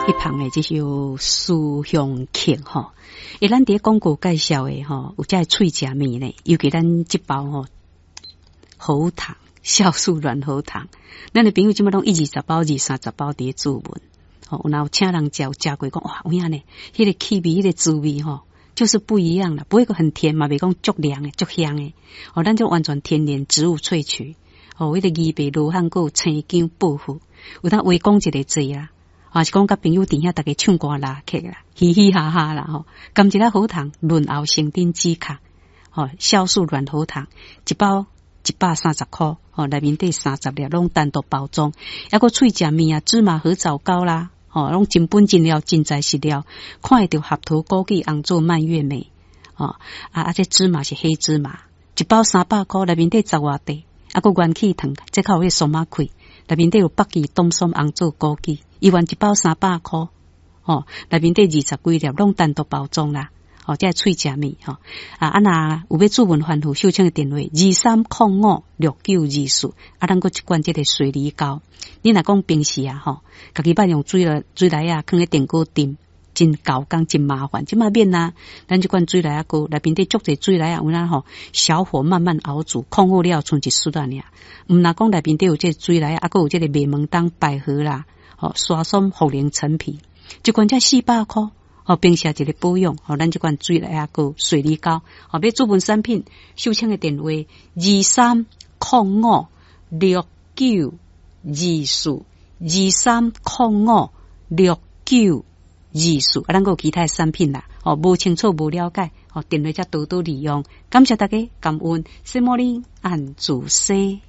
彼旁的這首思鄉曲吼，欸，咱佇廣告介紹的吼，有遮喙食物呢，尤其咱這包吼喉糖、酵素軟喉糖，咱的朋友這擺攏一二十包、二三十包佇咧注文，吼，有若有請人食，有食過講哇，有影呢，彼個氣味、彼個滋味吼，就是不一樣啦，不會講很甜嘛，袂講足涼的、足香的，哦，咱就完全天然植物萃取，哦，彼個枇杷、羅漢果、生薑、薄荷，有當話講一个濟啦。啊，是講佮朋友佇遐，逐家唱歌拉客啦，嘻嘻哈哈啦吼。含一粒喉糖，潤喉生津止渴，吼，酵素軟喉糖，一包130箍，吼，內面底30粒，攏單獨包裝。抑閣喙食物啊，芝麻褐藻膏啦，吼，攏真本真料，真材實料，看會著合桃、枸杞、紅棗、蔓越莓，吼，啊，這芝麻是黑芝麻，一包300箍，內面底十外塊，啊，閣元氣糖，這較有彼個鬆仔開，內面底有北芪、冬筍、紅棗、枸杞。一元一包300箍，吼，內面底二十幾粒，攏單獨包裝啦，吼，這喙食物吼，啊，若有欲注文反覆，秀清的電話23056924，啊，咱閣一罐這個水梨膏，你若講平時啊，吼，家己捌用水來水梨仔，囥佇電鍋叮，真猴工真麻煩，這擺免啊，咱這罐水梨仔膏內面底足濟水梨仔，有影吼，小火慢慢熬煮，控好了賰一匙仔爾，毋若講內面底有這個水梨仔，啊，閣有這個麥門冬、百合啦。吼，沙參、茯苓、陳皮，一罐才400箍，吼，平時一個保養，吼，咱這罐水梨仔膏、水梨膏，吼，欲注文產品，秀清的電話23056924，23056924，啊，咱閣有其他的產品啦，吼，無清楚、無了解，吼，電話才多多利用，感謝大家，感恩，什麼哩按主西。